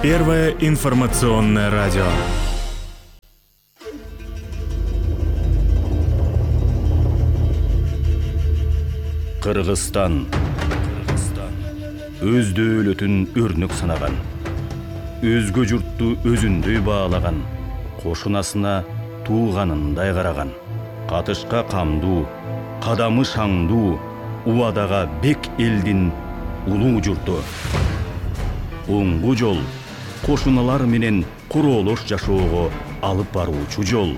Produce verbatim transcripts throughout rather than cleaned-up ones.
Первое информационное радио. Кыргызстан. Өз дөөлөтүн өрнөк санаган. Өзгө журтту өзүндөй баалаган. Кошунасына тууганындай караган. Катышка камдуу, кадамы шаңдуу, убадага бек элдин улуу журту. Оңгу жол, кошуналар менен куроолош жашоого алып баруучу жол.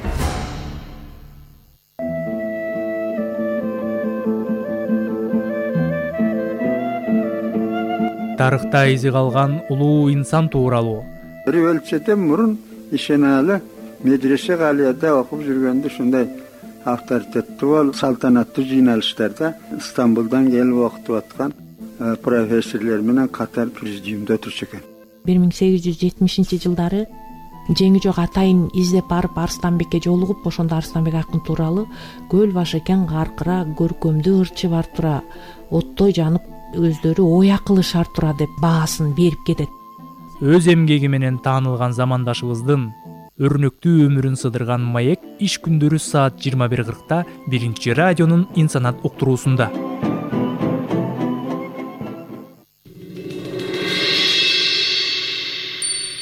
Тарыхта изи калган улуу инсан тууралуу. Бир өлчөдөн мурун ишеналы медресе галияда окуп жүргөндө ушундай авторитеттүү бол салтанаттуу жыйналыштарда Стамбулдан келип окутуп аткан профессорлор менен катар президиумда отурчу экен. бир миң сегиз жүз жетимишинчи жылдары жеңи жок атайын издеп барып Арыстанбекке жолугуп, ошондо Арыстанбек акын тууралуу көл башы кең каркыра, көркөмдүү ырчы бар тура, оттой жанып өздөрү оя кылышар тура деп баасын берип кетет. Өз эмгеги менен таанылган замандашыбыздын өрнөктүү өмүрүн сыдырган маек иш күндөрү саат жыйырма бир кыркта биринчи радионун Инсанат уктуруусунда.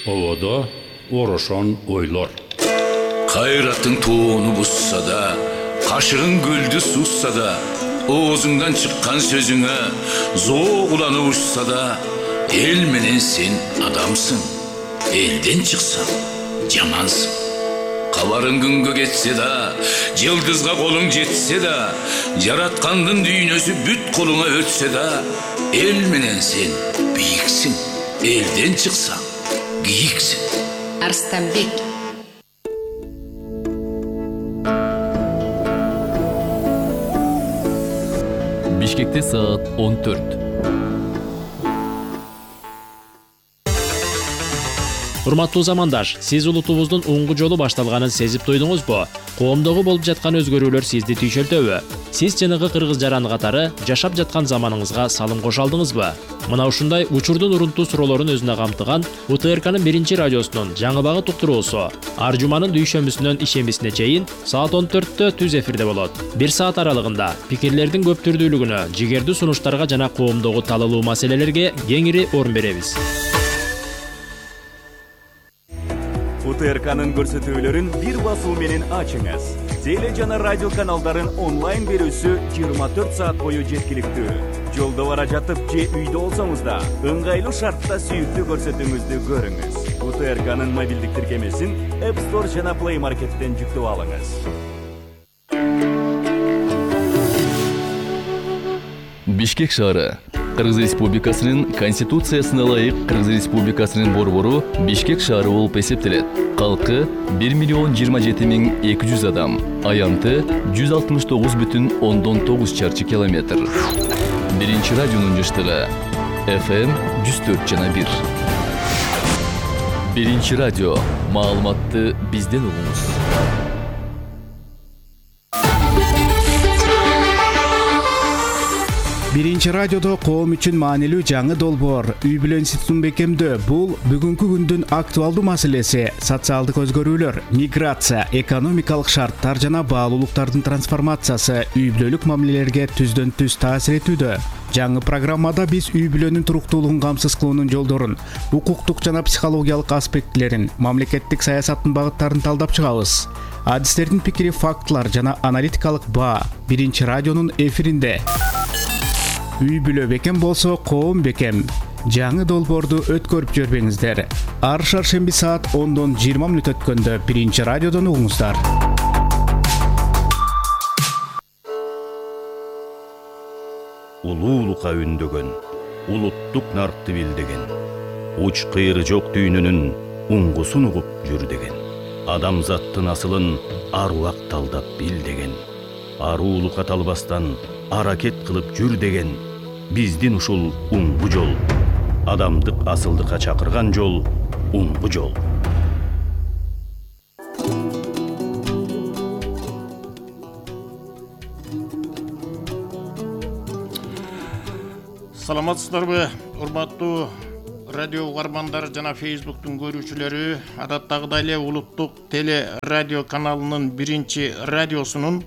Ободо орошон ойлор. Кайраттың тоону бусса да, кашыгың көлдү сусса да, оозуңдан чыккан сөзүңө зоо уланып учса да, эл менен сен адамсың. Элден чыксаң жамансың. Кабарың күнгө кетсе да, жылдызга колуң жетсе да, жараткандын дүйнөсү бүт колуңа өтсө да, эл менен сен бийиксиң. Элден чыксаң кийиксиң. Арыстанбек. Бишкекте саат он төрт. Урматтуу замандаш, сиз улутубуздун оңгу жолу башталганын сезип туйдуңузбу? Коомдогу болуп жаткан өзгөрүүлөр сизди түйшөлтөбү? Сиз жанагы кыргыз жаран катары жашап жаткан заманыңызга салым кошо алдыңызбы? Мына ушундай учурдун урунтуу суроолорун өзүнө камтыган У Т Р К'нын биринчи радиосунун жаңы багыт уктуруусу ар жуманын дүйшөмбүсүнөн ишембисине чейин саат он төрттө түз эфирде болот. Бир саат аралыгында пикирлердин көп түрдүүлүгүнө, жигердүү сунуштарга жана коомдогу талалуу маселелерге кеңири орун беребиз. У Т Р К'нын көрсөтүүлөрүн бир басуу менен ачыңыз. Теле жана радио каналдарын онлайн берүүсү жыйырма төрт саат бою жеткиликтүү. Жолдо бара жатып же үйдө болсоңуз да, ыңгайлуу шартта сүйүктүү көрсөтүүңүздү көрүңүз. У Т Р К'нын мобилдик тиркемесин App Store жана Play Market'тен жүктөп алыңыз. Бишкек шаары. Кыргыз Республикасынын Конституциясына ылайык Кыргыз Республикасынын борбору Бишкек шаары болуп эсептелет. Калкы бир миллион жыйырма жети миң эки жүз адам. Аянты жүз алтымыш тогуз бүтүн ондон тогуз чарчы километр. Биринчи радионун жыштыгы эф эм жүз төрт жана бир. Биринчи радио. Маалыматты бизден угуңуз. Биринчи радиодо коом үчүн маанилүү жаңы долбоор үй бүлө институтун бекемдөө. Бул бүгүнкү күндүн актуалдуу маселеси. Социалдык өзгөрүүлөр, миграция, экономикалык шарттар жана баалуулуктардын трансформациясы үй бүлөлүк мамилелерге түздөн түз таасир этүүдө. Жаңы программада биз үй бүлөнүн туруктуулугун камсыз кылуунун жолдорун, укуктук жана психологиялык аспектилерин, мамлекеттик саясаттын багыттарын талдап чыгабыз. Адистердин пикири, фактылар жана аналитикалык баа биринчи радионун эфиринде. Үй бүлө бекем болсо, коом бекем. Жаңы долбоорду өткөрүп жөрбөңүздөр. Ар шаршемби саат ондон жыйырма мүнөт өткөндө биринчи радиодон угуңуздар. Улуулукка үндөгөн, улуттук наркты билдеген, уч кыйры жок дүйнөнүн уңгусун угуп жүр деген. Адамзаттын асылын аруак талдап бил деген. Аруулукка талбастан аракет кылып жүр деген. Биздин ушул уңгу жол, адамдык асылдыкка чакырган жол, уңгу жол. Саламатсыздарбы, урматтуу радио угармандары жана Facebooktун көрүүчүлөрү, адаттагыдай эле улуттук теле радио каналынын биринчи радиосунун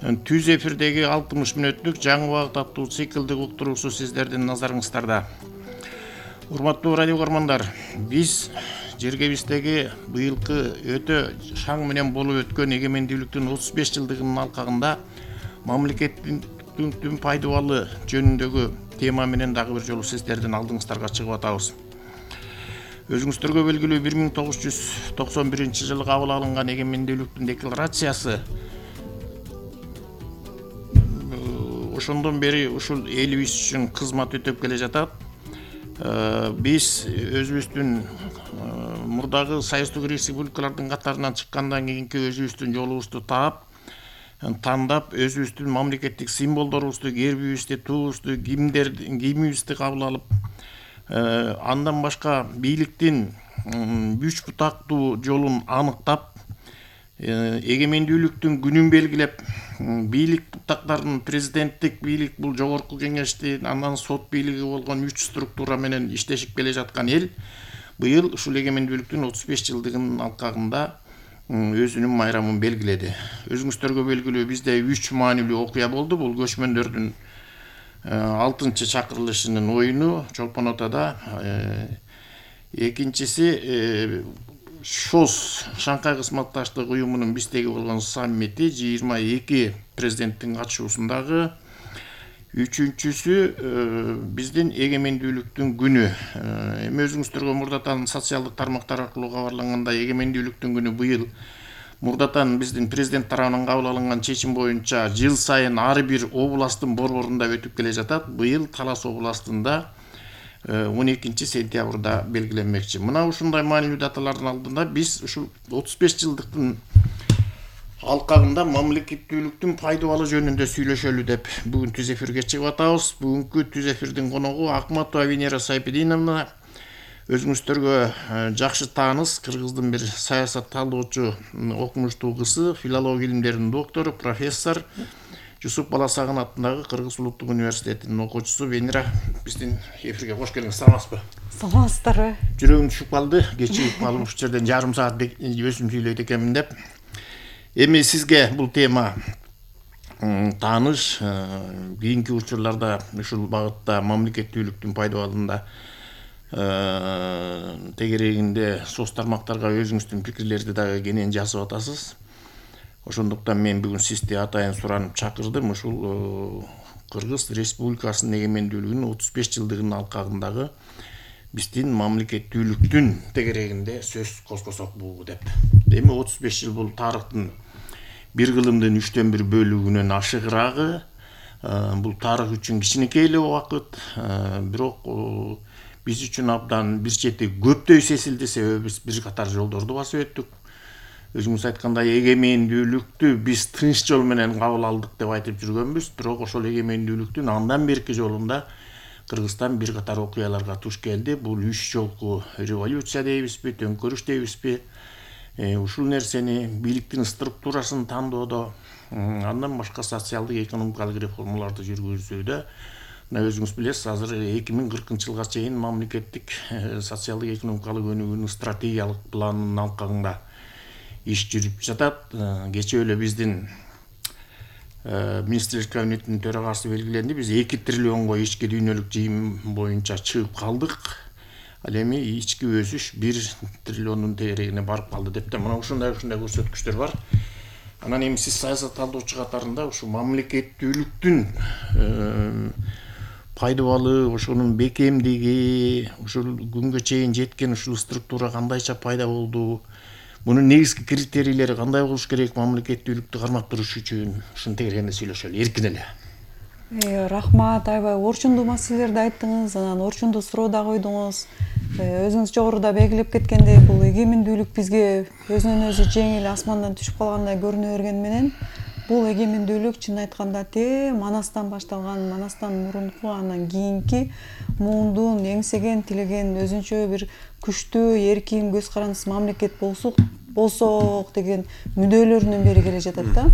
түз эфирдеги алтымыш мүнөттүк жаңы убакыт аттуу циклдик уктуруусу сиздердин назарыңыздарда. Урматтуу радио угармандар, биз жергебиздеги быйылкы өтө шаң менен болуп өткөн эгемендүүлүктүн отуз беш жылдыгынын алкагында мамлекеттин түн пайдубалы жөнүндөгү тема менен дагы бир жолу сиздердин алдыңыздарга чыгып атабыз. Өзүңүздөргө белгилүү бир миң тогуз жүз токсон биринчи жылы кабыл алынган эгемендүүлүктүн декларациясы ошондон бери ушул элибиз үчүн кызмат өтөп келе жатат. Биз өзүбүздүн мурдагы союздук республикалардын катарынан чыккандан кийинки өзүбүздүн жолубузду таап, тандап, өзүбүздүн мамлекеттик символдорубузду, гербибизди, туубузду, кийимибизди кабыл алып, андан башка бийликтин үч бутактуу жолун аныктап, эгемендүүлүктүн күнүн белгилеп, бийлик бутактарын президенттик бийлик, бул жогорку кеңештин, андан сот бийлиги болгон үч структура менен иштешип келе жаткан эл быйыл ушул эгемендүүлүктүн отуз беш жылдыгынын алкагында өзүнүн майрамын белгиледи. Өзүңүздөргө белгилүү, бизде үч маанилүү окуя болду. Бул көчмөндөрдүн алтынчы чакырылышынын оюну Чолпон Атада, экинчиси ШОС Шанхай кызматташтык уюмунун биздеги болгон саммити жыйырма эки президенттин катышуусундагы, үчүнчүсү биздин эгемендүүлүктүн күнү. Эми өзүңүздөргө мурдатан социалдык тармактар аркылуу кабарлангандай, эгемендүүлүктүн күнү быйыл мурдатан биздин президент тарабынан кабыл алынган чечим боюнча жыл сайын ар бир областтын борборунда өтүп келе жатат. Быйыл Талас областында он экинчи сентябрда белгиленмекчи. Мына ушундай маанилүү даталардын алдында биз ушул отуз беш жылдыктын алкагында мамлекеттүүлүктүн пайдубалы жөнүндө сүйлөшөлү деп бүгүн түз эфирге чыгып атабыз. Бүгүнкү түз эфирдин коногу Акматова Венера Сайпединовна. Өзүңүздөргө жакшы тааныш, кыргыздын бир саясат талдоочу, окумуштуу кызы, филология илимдеринин доктору, профессор, Жусуп Баласагын атындагы Кыргыз улуттук университетинин окуучусу Венера биздин эфирге кош келиңиз. Саламатсызбы? Саламатсыздарбы? Жүрөгүм түшүп калды, кечигип калып ушул жерден жарым саат өзүм сүйлөйт экенмин деп. Эми сизге бул тема тааныш, кийинки учурларда ушул багытта мамлекеттүүлүктүн пайдабалында тегерегинде соц тармактарга өзүңүздүн пикирлерди дагы кенен жазып атасыз. Ошондуктан мен бүгүн сизди атайын суранып чакырдым. Ушул Кыргыз Республикасынын эгемендүүлүгүнүн отуз беш жылдыгынын алкагындагы биздин мамлекеттүүлүктүн тегерегинде сөз козгосок бул деп. Эми отуз беш жыл бул тарыхтын бир кылымдын үчтөн бир бөлүгүнөн ашыгыраагы. Бул тарых үчүн кичинекей эле убакыт, бирок биз үчүн абдан бир чети көптөй сесилди, себеби биз бир катар жолдорду басып өттүк. Өзүңүз айткандай, эгемендүүлүктү биз тынч жол менен кабыл алдык деп айтып жүргөнбүз, бирок ошол эгемендүүлүктүн андан берки жолунда Кыргызстан бир катар окуяларга туш келди. Бул үч жолку революция дейбизби, төңкөрүш дейбизби? Ушул нерсени бийликтин структурасын тандоодо, андан башка социалдык экономикалык реформаларды жүргүзүүдө, мына өзүңүз билесиз, азыр эки миң кыркынчы жылга чейин мамлекеттик социалдык экономикалык өнүгүүнүн стратегиялык планынын алкагында иш жүрүп жатат. Кечээ эле биздин министрлер кабинетинин төрагасы белгиленди. Биз эки триллионго ички дүйнөлүк жыйым боюнча чыгып калдык. Ал эми ички өсүш бир триллиондун тегерегине барып калды деп да, мына ушундай ушундай көрсөткүчтөр бар. Анан эми сиз саясат талдоочу катарында ушу мамлекеттүүлүктүн пайдабалы, ошонун бекемдиги, ушул күнгө чейин жеткен ушул структура кандайча пайда болду? Мунун негизги критерийлери кандай болуш керек мамлекеттүүлүктү кармап туруш үчүн? Ушун тегерегинде сүйлөшөлү, эркин эле. Рахмат, аябай орчундуу маселелерди айттыңыз, анан орчундуу суроо да койдуңуз. Өзүңүз жогоруда белгилеп кеткендей, бул эгемендүүлүк бизге өзүнөн өзү жеңил асмандан түшүп калгандай көрүнө бергени менен, бул эгемендүүлүк чын айтканда те Манастан башталган, Манастан мурунку, андан кийинки муундун эңсеген, тилеген өзүнчө бир күчтүү, эркин, көз карандысыз мамлекет болсок болсок деген мүдөлөрүнөн бери келе жатат да.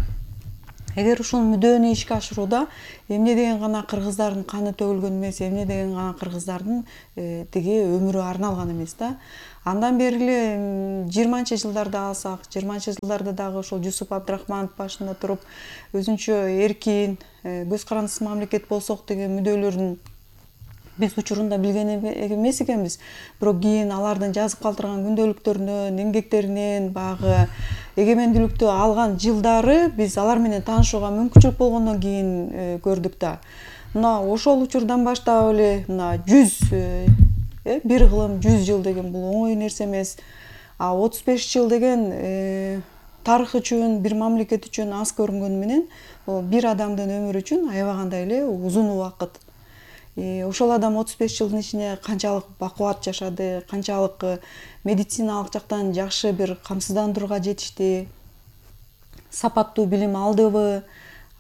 эгер ушул мүддөөнү ишке ашырууда эмне деген гана кыргыздардын каны төгүлгөн эмес, эмне деген гана кыргыздардын тиги өмүрү арналган эмес да. Андан бери эле жыйырманчы жылдарды алсак, жыйырманчы жылдарда дагы ошол Жусуп Абдрахманов башында туруп өзүнчө эркин, көз карандысыз мамлекет болсок деген мүддөөлөрүн биз учурунда билген эмес экенбиз. Бирок кийин алардын жазып калтырган күндөлүктөрүнөн, эмгектеринен баягы эгемендүүлүктү алган жылдары биз алар менен таанышууга мүмкүнчүлүк болгондон кийин көрдүк да. Мына ошол учурдан баштап эле мына жүз бир кылым жүз жыл деген бул оңой нерсе эмес. А отуз беш жыл деген тарых үчүн, бир мамлекет үчүн аз көрүнгөнү менен бир адамдын өмүрү үчүн аябагандай эле узун убакыт. Ошол адам отуз беш жылдын ичинде канчалык бакубат жашады, канчалык медициналык жактан жакшы бир камсыздандырууга жетишти, сапаттуу билим алдыбы,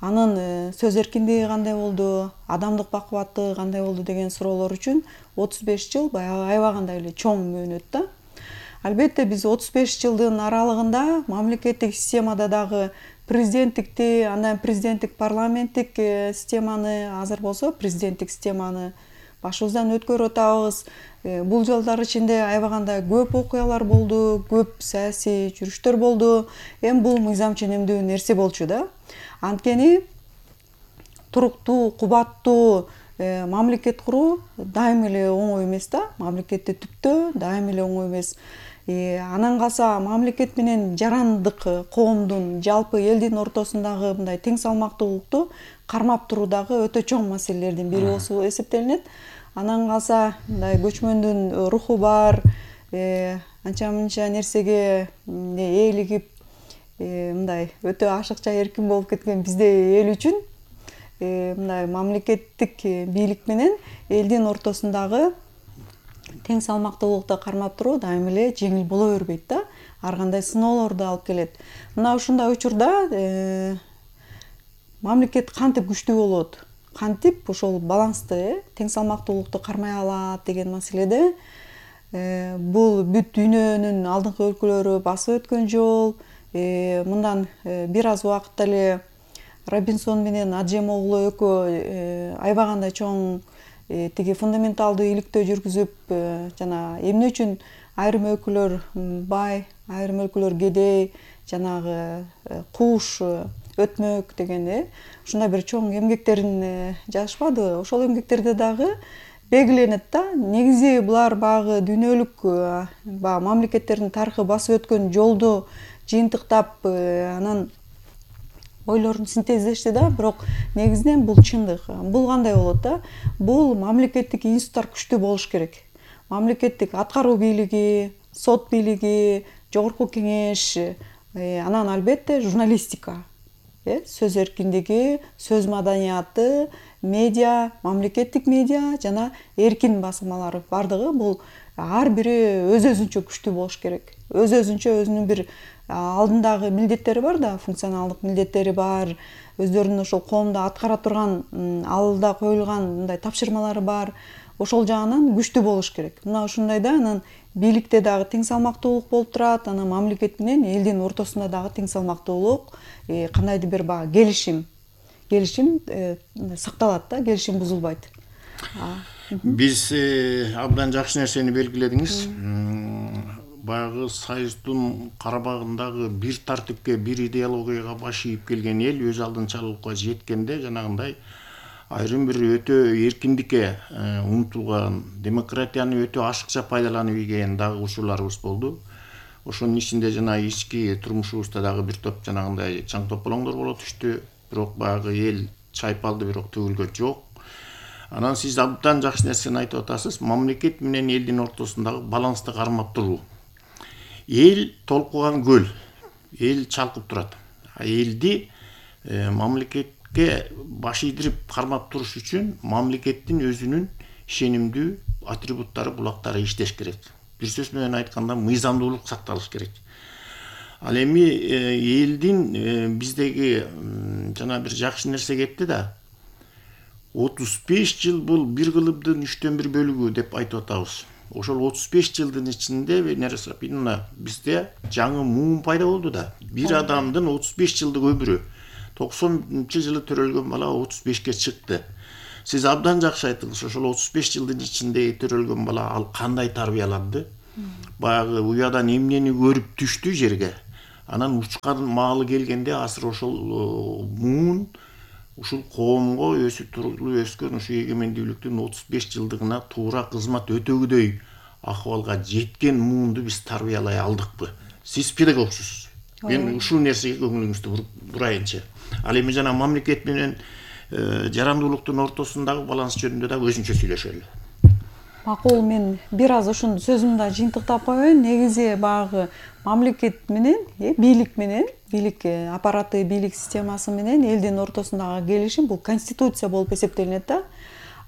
анын сөз эркиндиги кандай болду, адамдык бакубаттыгы кандай болду деген суроолор үчүн отуз беш жыл баягы аябагандай эле чоң мөөнөт да. Албетте биз отуз беш жылдын аралыгында мамлекеттик системада дагы президенттикти, андан президенттик парламенттик системаны, азыр болсо президенттик системаны башыбыздан өткөрүп атабыз. Бул жылдар ичинде аябагандай көп окуялар болду, көп саясий жүрүштөр болду. Эми бул мыйзам ченемдүү нерсе болчу да. Анткени туруктуу, кубаттуу мамлекет куруу дайым эле оңой эмес да. Мамлекетти түптөө дайым эле оңой эмес. Анан калса мамлекет менен жарандык коомдун, жалпы элдин ортосундагы мындай тең салмактуулукту кармап туруу дагы өтө чоң маселелердин бири болуп эсептелинет. Анан калса мындай көчмөндүн руху бар, анча-мынча нерсеге ээлигип, мындай өтө ашыкча эркин болуп кеткен биздей эл үчүн мындай мамлекеттик бийлик менен элдин ортосундагы тең салмактуулукту кармап туруу дайым эле жеңил боло бербейт да. Ар кандай сыноолорду алып келет. Мына ушундай учурда мамлекет кантип күчтүү болот, кантип ошол балансты, тең салмактуулукту кармай алат деген маселеде бул бүт дүйнөнүн алдыңкы өлкөлөрү басып өткөн жол. Мындан бир аз убакытта эле Робинсон менен Аджем оглу экөө аябагандай чоң тиги фундаменталдуу иликтөө жүргүзүп, жана эмне үчүн айрым өлкөлөр бай, айрым өлкөлөр кедей, жанагы кууш, өтмөк деген ушундай бир чоң эмгектерин жазышпады. Ошол эмгектерде дагы белгиленет да. Негизи булар баягы дүйнөлүк баягы мамлекеттердин тарыхы басып өткөн жолду жыйынтыктап, анан ойлорун синтездешти да, бирок негизинен бул чындык. Бул кандай болот да? Бул мамлекеттик институттар күчтүү болуш керек. Мамлекеттик аткаруу бийлиги, сот бийлиги, жогорку кеңеш, анан албетте журналистика, сөз эркиндиги, сөз маданияты, медиа, мамлекеттик медиа жана эркин басылмалар бардыгы бул ар бири өз-өзүнчө күчтүү болуш керек. Өз-өзүнчө өзүнүн бир алдындагы милдеттери бар да, функционалдык милдеттери бар, өздөрүнүн ошол коомдо аткара турган, алда коюлган мындай тапшырмалары бар. Ошол жагынан күчтүү болуш керек. Мына ушундайда анан бийликте дагы тең салмактуулук болуп турат, анан мамлекет менен элдин ортосунда дагы тең салмактуулук, кандайдыр бир баягы келишим, келишим сакталат да, келишим бузулбайт. Биз абдан жакшы нерсени белгиледиңиз. Баягы союздун карабагындагы бир тартипке, бир идеологияга баш ийип келген эл өз алдынчалыкка жеткенде жанагындай айрым бир өтө эркиндикке умтулган, демократияны өтө ашыкча пайдаланып ийген дагы учурларыбыз болду. Ошонун ичинде жана ички турмушубузда дагы бир топ жанагындай чаң тополоңдор боло түштү. Бирок баягы эл чайпалды, бирок төгүлгөн жок. Анан сиз абдан жакшы нерсени айтып атасыз. Мамлекет менен элдин ортосундагы балансты кармап туруу. Эл толкуган көл, эл чалкып турат. А элди мамлекетке баш ийдирип кармап туруш үчүн мамлекеттин өзүнүн ишенимдүү атрибуттары, булактары иштеш керек. Бир сөз менен айтканда мыйзамдуулук сакталыш керек. Ал эми элдин биздеги жана бир жакшы нерсе кетти да. отуз беш жыл бул бир кылымдын үчтөн бир бөлүгү деп айтып атабыз. Ошол отуз беш жылдын ичинде бизде жаңы муун пайда болду да. Бир адамдын отуз беш жылдык өмүрү. токсонунчу жылы төрөлгөн бала отуз бешке чыкты. Сиз абдан жакшы айттыңыз. Ошол отуз беш жылдын ичинде төрөлгөн бала ал кандай тарбияланды? Баягы уядан эмнени көрүп түштү жерге. Анан учкан маалы келгенде азыр ошол муун ушул коомго өсүп туруктуу өскөн ушу эгемендүүлүктүн отуз беш жылдыгына туура кызмат өтөгүдөй акыбалга жеткен муунду биз тарбиялай алдыкпы? Сиз педагогсуз. Мен ушул нерсеге көңүлүңүздү бурайынчы. Ал эми жана мамлекет менен жарандуулуктун ортосундагы баланс жөнүндө да өзүнчө сүйлөшөлү. Макул, мен бир аз ушуну сөзүмдү жыйынтыктап коеюн. Негизи баягы мамлекет менен, бийлик менен, бийлик аппараты, бийлик системасы менен элдин ортосундагы келишим бул конституция болуп эсептелинет да.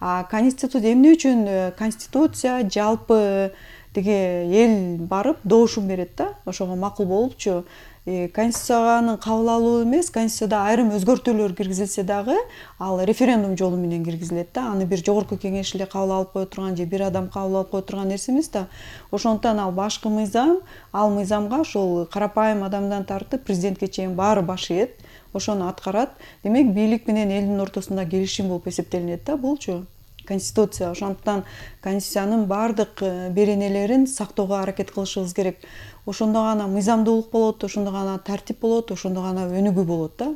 А конституция эмне үчүн конституция жалпы деге эл барып доошун берет да. Ошого макул болупчу. Конституциянын кабыл алуу эмес, конституцияда айрым өзгөртүүлөр киргизилсе дагы, ал референдум жолу менен киргизилет да. Аны бир жогорку кеңеш эле кабыл алып кое турган же бир адам кабыл алып кое турган нерсе эмес да. Ошондуктан ал башкы мыйзам, ал мыйзамга ошол карапайым адамдан тартып президентке чейин баары баш ийет. Ошону аткарат. Демек, бийлик менен элдин ортосунда келишим болуп эсептелинет да булчу. Конституция. Ошондуктан конституциянын баардык беренелерин сактоого аракет кылышыбыз керек. Ошондо гана мыйзамдуулук болот, ошондо гана тартип болот, ошондо гана өнүгүү болот да.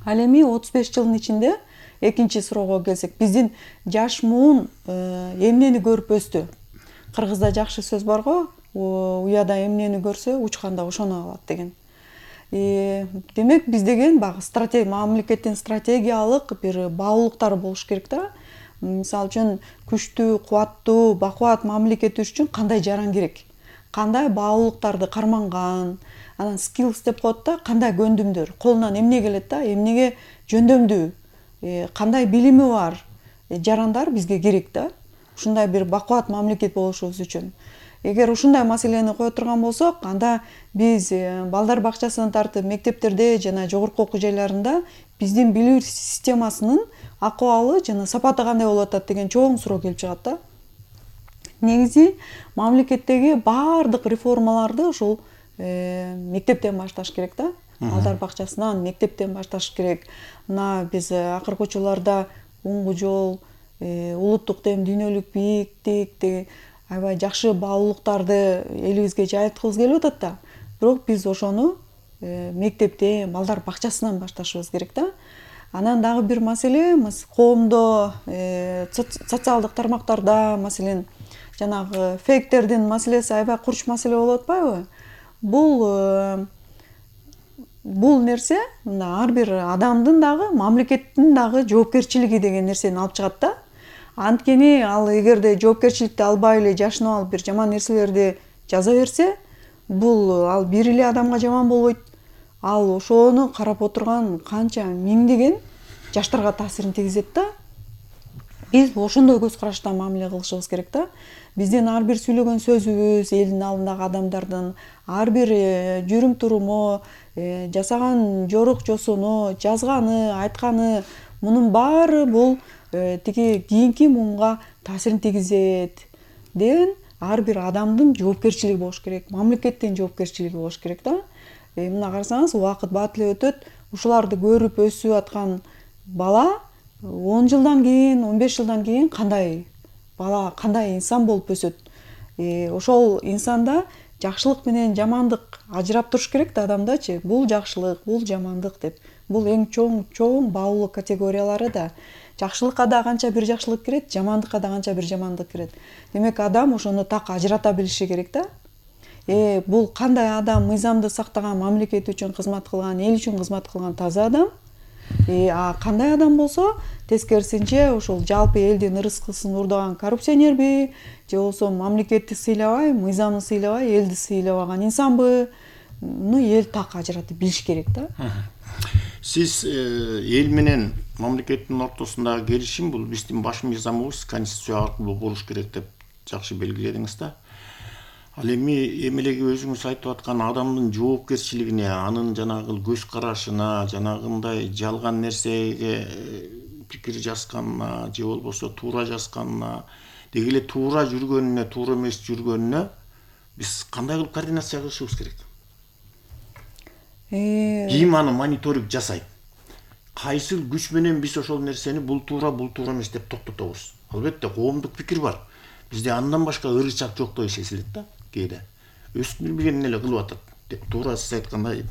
Ал эми отуз беш жылдын ичинде экинчи суроого келсек, биздин жаш муун эмнени көрүп өстү? Кыргызда жакшы сөз бар го, уяда эмнени көрсө, учканда ошону алат деген. Демек, биз деген багы стратегия, мамлекеттин стратегиялык бир баалуулуктары болуш керек да. Мисалы үчүн күчтүү, кубаттуу, бакубат мамлекет үчүн кандай жаран керек? Кандай баалуулуктарды карманган, анан skills деп коет да, кандай көндүмдөр, колунан эмне келет да, эмнеге жөндөмдүү, кандай билими бар жарандар бизге керек да. Ушундай бир бакубат мамлекет болушубуз үчүн. Эгер ушундай маселени кое турган болсок, анда биз балдар бакчасынан тартып мектептерде жана жогорку окуу жайларында биздин билүү системасынын акыбалы жана сапаты кандай болуп атат деген чоң суроо келип чыгат да. Негизи мамлекеттеги баардык реформаларды ушул мектептен башташ керек да. Балдар бакчасынан, мектептен башташ керек. Мына биз акыркы учурларда оңгу жол, улуттук тем, дүйнөлүк бийиктик, аябай жакшы баалуулуктарды элибизге жайылткыбыз келип атат да. Бирок биз ошону мектептен, балдар бакчасынан башташыбыз керек да. Анан дагы бир маселе, коомдо, социалдык тармактарда, маселен, жанагы фейктердин маселеси аябай курч маселе болуп атпайбы? Бул бул нерсе мына ар бир адамдын дагы, мамлекеттин дагы жоопкерчилиги деген нерсени алып чыгат да. Анткени ал эгерде жоопкерчиликти албай эле жашынып алып бир жаман нерселерди жаза берсе, бул ал бир эле адамга жаман болбойт. Ал ошону карап отурган канча миңдеген жаштарга таасирин тийгизет да. Биз ошондой көз караштан мамиле кылышыбыз керек да. Биздин ар бир сүйлөгөн сөзүбүз, элдин алдындагы адамдардын ар бир жүрүм туруму, жасаган жорук жосуну, жазганы, айтканы, мунун баары бул тиги кийинки муунга таасирин тийгизет деген ар бир адамдын жоопкерчилиги болуш керек, мамлекеттин жоопкерчилиги болуш керек да. Мына карасаңыз, убакыт бат эле өтөт, ушуларды көрүп өсүп аткан бала он жылдан кийин, он беш жылдан кийин кандай бала, кандай инсан болуп өсөт? Ошол инсанда жакшылык менен жамандык ажырап туруш керек да адамдачы. Бул жакшылык, бул жамандык деп. Бул эң чоң чоң баалуулук категориялары да. Жакшылыкка да канча бир жакшылык кирет, жамандыкка да канча бир жамандык кирет. Демек, адам ошону так ажырата билиши керек да. Э, бул кандай адам, мыйзамды сактаган, мамлекет үчүн кызмат кылган, эл үчүн кызмат кылган таза адам. Э, а кандай адам болсо, тескерисинче ошол жалпы элдин ырыскысын урдаган коррупционерби, же болбосо мамлекетти сыйлабай, мыйзамды сыйлабай, элди сыйлабаган инсанбы? Ну, эл так ажыратып билиш керек да. Сиз эл менен мамлекеттин ортосундагы келишим бул биздин баш мыйзамыбыз конституция аркылуу болуш керек деп жакшы белгиледиңиз да. Ал эми эмелеги өзүңүз айтып аткан адамдын жоопкерчилигине, анын жанагы көз карашына, жанагындай жалган нерсеге пикир жазганына, же болбосо туура жазганына, деги эле туура жүргөнүнө, туура эмес жүргөнүнө биз кандай кылып координация кылышыбыз керек? кийин аны мониторинг жасайт. Кайсыл күч менен биз ошол нерсени бул туура, бул туура эмес деп токтотобуз. Албетте коомдук пикир бар. Бизде андан башка ырычак жоктой сезилет да кээде. Өстүн билбеген эле кылып атат деп туура сиз айткандай